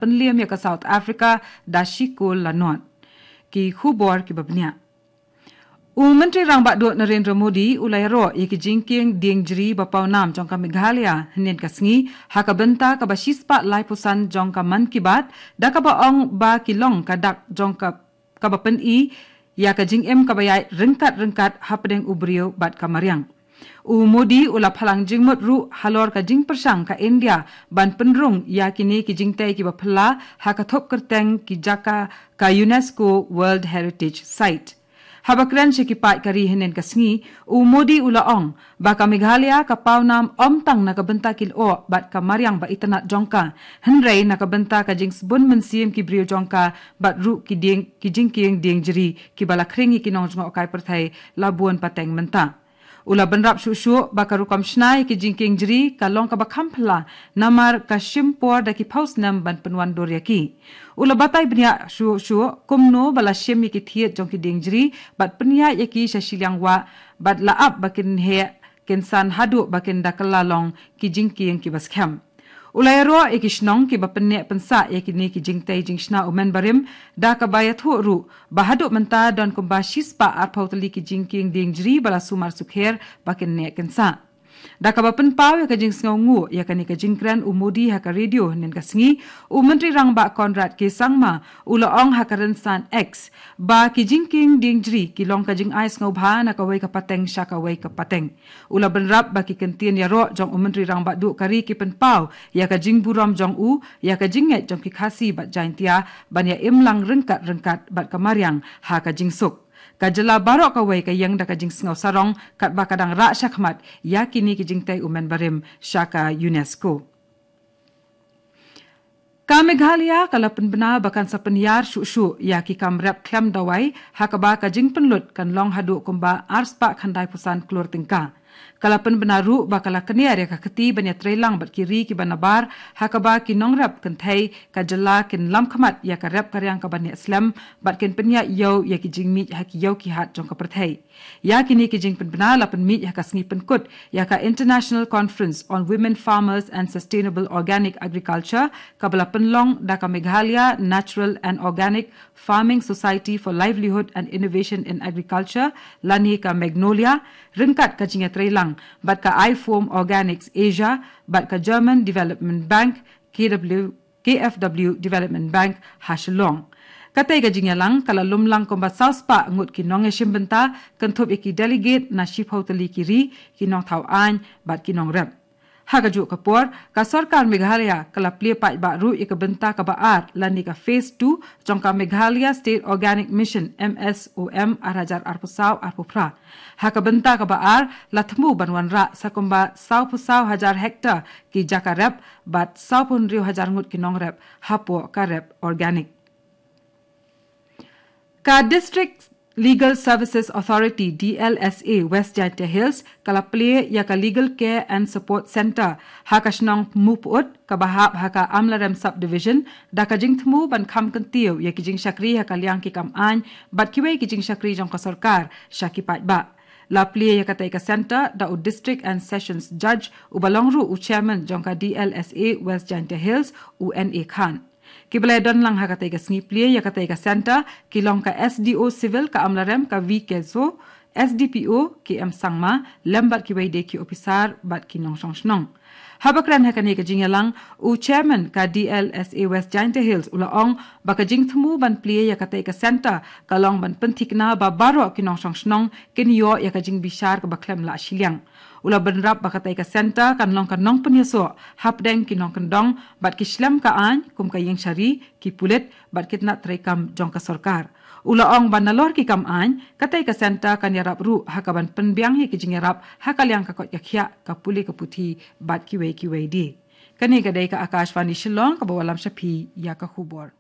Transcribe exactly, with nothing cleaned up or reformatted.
pynliem ïa ka South Africa da shi kol la nod. Ki khubor kiba bniah. U Myntri Rangbah Duh Narendra Modi u la ïaroh ïa ki jingkieng dieng jri ba paw nam jong ka Meghalaya hynnin ka sngi ha ka bynta kaba shispah laiphew san jong ka Mann Ki Baat, da kaba ong ba ki long ka dak jong ka, kaba pyni ïa ka jingim kaba ïaid ryngkat ryngkat hapdeng u briew bad ka mariang. U Modi u la phalang jingmut ruh halor ka jingpyrshang ka India ban pynrung ïa kine ki jingtei kiba phylla ha ka thup kyrteng ki jaka ka UNESCO World Heritage Site. Haba kren sha ki paid ka ri hynnin ka sngi, u Modi u la ong ba ka Meghalaya ka paw nam ym tang na ka bynta ki lyoh bad ka mariang ba itynnad jong ka, hynrei na ka bynta ka jingsbun mynsiem ki briew jong ka bad ruh ki dieng, ki jingkieng dieng jri kiba la khring ïa ki nongjngohkai pyrthei la bun pateng mynta. U la bynrap shuh shuh ba ka rukom shna ïa ki jingkieng jri ka long kaba kham phylla, namar ka shim por da ki phew snem ban pynwandur ïa ki. U la batai bniah shuh shuh kumno ba la shim ïa ki thied jong ki dieng jri bad pynïaid ïa ki sha shiliang wah, bad la ap ba kin heh kin san haduh ba kin da kylla long ki jingkieng kiba skhem. U la ïaroh ïa ki shnong kiba pynneh pynsah ïa kine ki jingtei jingshna u mynbarim, da kaba ïathuh ruh ba haduh mynta don kumba shispah arphew tylli ki jingkieng dieng jri ba la sumar sukher ba kin neh kin sah. Da kaba pynpaw ïa ka jingsngewnguh ïa kane ka jingkren u Modi ha ka radio hynnin ka sngi, u Myntri Rangbah Conrad K Sangma u la ong ha ka rynsan X ba ki jingkieng dieng jri ki long ka jingai sngewbha na kawei ka pateng sha kawei ka pateng. U la bynrap ba ki kyntien ïaroh jong u Myntri Rangbah Duh ka ri ki pynpaw ïa ka jingburom jong u ïa ka jingngeit jong ki Khasi bad Jaintia ban ïa im lang ryngkat ryngkat bad ka mariang ha ka jingsuk. Ka jylla baroh kawei ka ïeng da ka jingsngew sarong katba ka dang rah shakhmat ïa kine ki jingtei u mynbarim sha ka UNESCO. Ka Meghalaya ka la pynbna ba kan sa pynïar shuh shuh ïa ki kam rep khlem dawai, ha kaba ka jingpynlut kan long haduh kumba arspah khyndai phew san klur tyngka. Ka la pynbna ruh ba ka la kner ïa ka kti ban ïatreilang bad ki ri kiba nabar, ha kaba ki nongrep kynthei ka jylla kin lam khmat ïa ka rep ka riang kaba neh slem bad kin pynïaid ïew ïa ki jingmih ha ki ïew ki hat jong ka pyrthei. Ïa kine ki jingpynbna la pynmih ha ka sngi pynkut ïa ka International Conference on Women Farmers and Sustainable Organic Agriculture, kaba la pynlong da ka Meghalaya Natural and Organic Farming Society for Livelihood and Innovation in Agriculture, lane ka Magnolia, ryngkat ka jingïatreilang bad ka iFoam Organics Asia bad ka German Development Bank, K W, K F W Development Bank ha Shillong. Katei ka jingïalang ka la lumlang kumba saw spah ngut ki nongïashim bynta, kynthup ïa ki delegate na shiphew tylli ki ri, ki nongthaw aiñ bad ki nongrep. Ha kajuh ka por, ka sorkar Meghalaya ka la plie paidbah ruh ïa ka bynta kaba ar lane ka phase two jong ka Meghalaya State Organic Mission, M S O M, ar hajar arphew saw arphew phra. Ha ka bynta kaba ar, la thmu ban wanrah sa kumba sawphew saw hajar hektar ki jaka rep bad sawphew hynriew hajar ngut ki nongrep hapoh ka rep organic. Ka District Legal Services Authority, D L S A, West Jaintia Hills ka la plie ïa ka Legal Care and Support Centre ha ka shnong Muput, kaba hap ha ka Amlarem Subdivision, da ka jingthmu ban kham kyntiew ïa ki jingshakri ha ka liang ki kam aiñ bad kiwei ki jingshakri jong ka sorkar sha ki paidbah. La plie ïa katei ka centre da u District and Sessions Judge, uba long ruh u Chairman jong ka D L S A West Jaintia Hills, u N A Khan. Kiba la ïadon lang ha katei ka sngi plie ïa katei ka centre ki long ka S D O Civil ka Amlarem, ka V K Soh, S D P O K M Sangma, lem bad kiwei de ki ophisar bad ki nongshong shnong. Haba kren ha kane ka jingïalang, u Chairman ka D L S A West Jaintia Hills u la ong ba ka jingthmu ban plie ïa katei ka centre ka long ban pynthikna ba baroh ki nongshong shnong kin ïoh ïa ka jingbishar kaba khlem lah shiliang. U la bynrap ba katei ka centre kan long ka nongpynïasoh hapdeng ki nongkyndong bad ki shlem ka aiñ, kum ka ïingshari, ki pulit bad ki tnat treikam jong ka sorkar. U la ong ba nalor ki kam aiñ, katei ka centre kan ïarap ruh ha kaban pynbiang ïa ki jingïarap ha ka liang ka koit ka khiah, ka pule ka puthi bad kiwei kiwei de. Kane ka dei ka Akashvani Shillong kaba wallam sha phi ïa ka khubor.